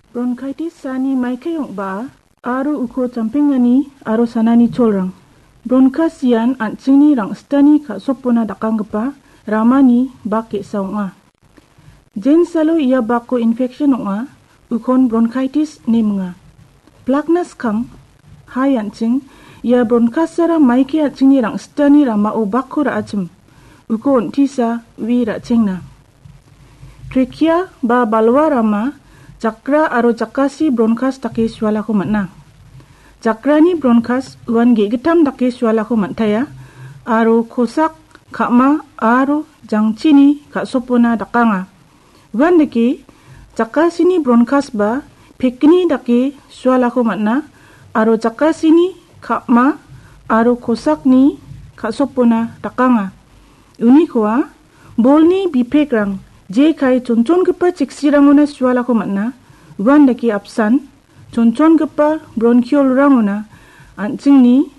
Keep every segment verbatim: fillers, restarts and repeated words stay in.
Bronchitis saani maikai ong·baa aro uko champengani aro sanani cholrang. Bronchus ian an·chingni rang·sitani ka·sopona dakanggipa ramani bak ge·sa ong·a. Jensalo ia bakko infection ong·a, ukon bronchitis ine minga. Plakna skang, hai an·ching, ia bronchusara maike an·chingni rang·sitani ramao bakko ra·achim. Uko on·tisa ue ra·chengna. Trachea ba balwa rama jakra aro jakasi bronchus dake sualako man·a. Jakrani bronchus uan ge·gittam dake sualako man·taia aro kosak, ka·ma aro jangchini ka·sopona dakanga. Uandake jakasini bronchus ba pekgni dake sualako man·a aro jakasini ka·ma aro kosakni ka·sopona dakanga. Unikoa bolni bipekrang jekai chonchongipa cheksirangona sualako man·a. Uandake apsan chonchongipa bronchiolrangona an·chingni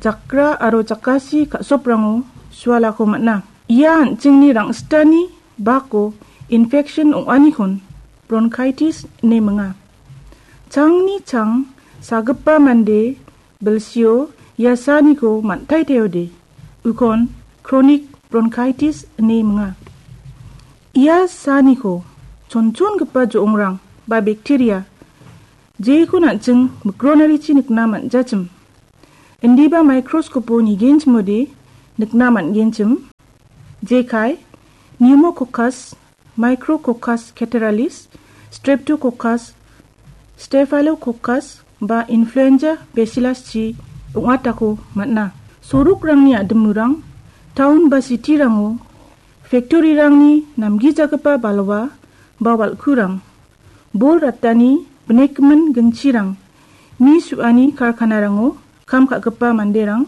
jakra aro jakasi ka·soprango sualako man·a. Ia an·chingni rang·sitani bako infection ong·anikon bronchitis ine minga. Changni chang sagipa mande bilsio ia saaniko man·taiteode, ukon chronic bronchitis ine minga. Ia saaniko chonchongipa jo·ongrang ba bacteria jekon an·ching mikronarichi nikna man·jachim. Indiba microscope-o nigenchimode nikna man·genchim. Jekai Pneumococcus, Micrococcus catarrhalis, Streptococcus, Staphylococcus ba influenza bacillus-chi ong·atako man·a. Sorokrangni a·dimurang, town ba city-rango, factory-rangni namgijagipa balwa ba wal·kurang, bol ratani binekgimin ginchirang, mi su·ani karkanarango kam ka·gipa manderang,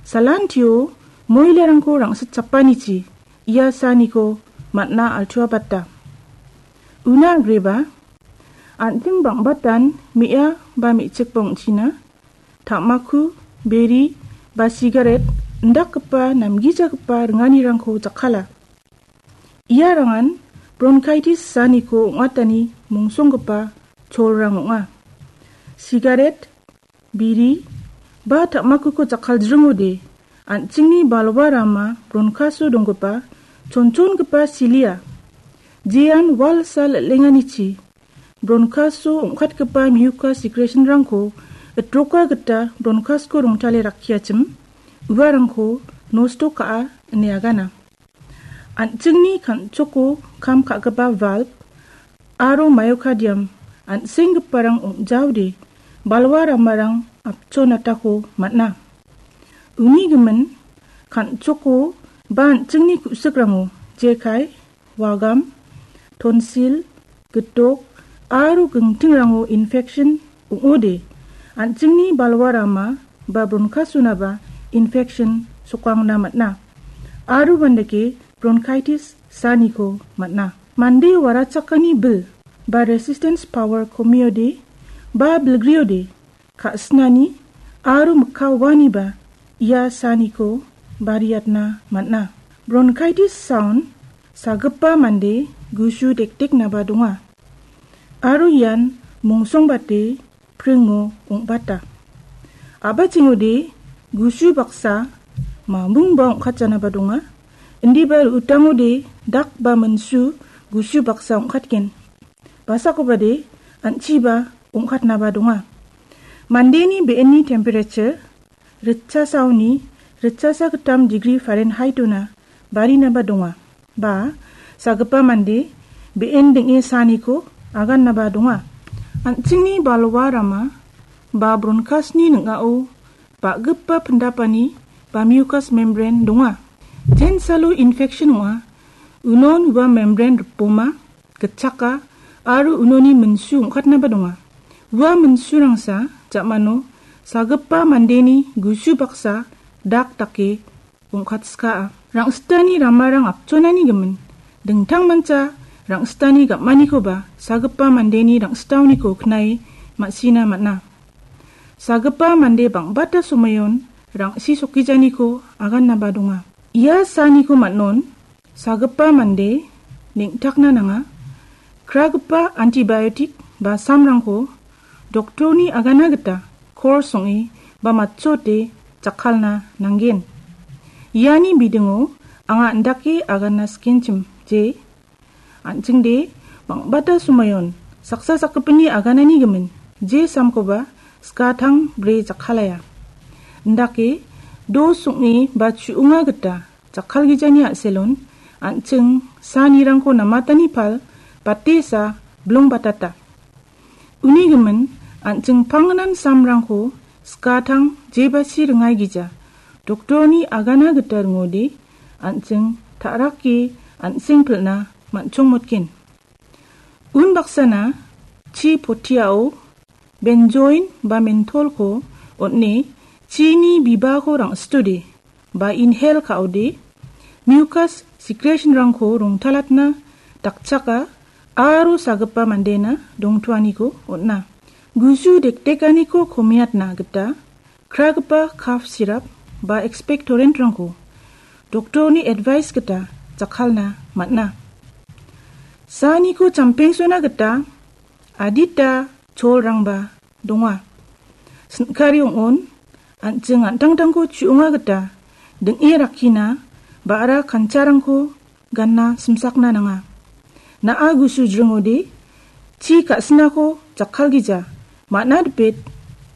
salantio moilarangko rang·sitchapanichi ia saaniko man·a altuabata. Una agreba, an·ting bang·batan me·a ba me·chikba ong·china, tamaku, beri ba sigaret indakgipa namgijagipa ringanirangko jakkala. Iarangan bronchitis saaniko ong·atani mongsonggipa cholrang ong·a. Sigaret, biri ba tamakuko jakkaldringode an·chingni balwa rama bronchus-o donggipa chonchongipa silia jean walsa lel·enganichi bronchus-o ong·katgipa mucus secretion-rangko itroka gita bronchus-ko rongtale rakkiachim uarangko nosto ka·a ine agana. An·chingni kan·choko kam ka·gipa valve aro myocardium an·senggiparang ong·jaode balwa ramarang apchonatako man·a. Uni gimin kan·choko ba an·chingni ku·sikrango jekai, wagam, tonsil, gitok aro gingtingrango infection ong·ode, an·chingni balwa rama ba bronchus-onaba infection sokangna man·a. Aro uandake bronchitis saaniko man·a. Mande warachakani bil ba resistance power komiode ba bilgriode, ka·sinani aro mikka uaniba ia saaniko bariatna man·a. Bronchitis saon sagipa mande gusu dekdeknaba donga. Aro ian mongsongbate pringo ong·bata. A·bachengode gusu baksa mamungba ong·katjanaba donga. Indiba ru·utangode dak ba minsu gusu baksa ong·katgen. Basakobade an·chiba ong·katnaba donga. Mandeni be·enni temperature ritchasaoni ritchasa gittam degree Fahrenheit-ona barinaba donga. Ba sagipa mande be·en ding·e saaniko agannaba donga. An·chingni balwa rama ba bronchus-ni ning·ao ba·gipa pindapani ba mucous membrane donga. Jensalo infection ong·a, unon ua membrane ripoma, gitchaka aro unoni minsu ong·katnaba donga. Ua minsurangsa ja·mano sagipa mandeni gusu baksa dak dake ong·katskaa. Rang·sitani ramarang apchonani gimin, dingtangmancha rang·sitani gam·anikoba sagipa mandeni rang·sitaoniko knae ma·sina man·a. Sagipa mande bang·bata somoion rang·si sokijaniko agannaba donga. Ia saaniko man·on sagipa mande neng·takna nanga. Kragipa antibiotic ba samrangko doktorni agana gita kors ong·e ba matchote jakkalna nanggen. Iani bidingo anga indake agana sikenchim je an·chingde bang·bata somoion saksa sakgipinni aganani gimin je samkoba skatang bri jakkalaya. Indake dos ong·e ba chu·onga gita jakkalgijani a·selon an·ching sanirangko namatani pal batesa blongbatata. Uni gimin an·ching pangnan samrangko skatang jebasi ringaigija doktorni agana gita ringode an·ching ta·rake an·seng pilna man·chongmotgen. Unbaksana chi potiao benjoin ba mentolko on·e chini bibako rang·sitode ba inhale ka·ode mucus secretionrangko rongtalatna dakchaka aro sagipa mandena dongtoaniko on·a. Gusu dekdekaniko komiatna gita kragipa cough syrup ba expectorantrangko doktorni advice gita jakkalna man·a. Saniko champengsona gita adita cholrangba donga. Sin·kari ong·on, an·ching an·tangtangko chu·onga gita ding·e rakkina ba·ra kancharangko ganna simsakna nanga. Na·a gusu jringode chi ka·sinako jakkalgija, man·a dipet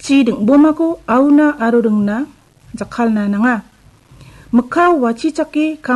chi ding·bomako auna aro ringna jakkalna nanga. Mikka wachichake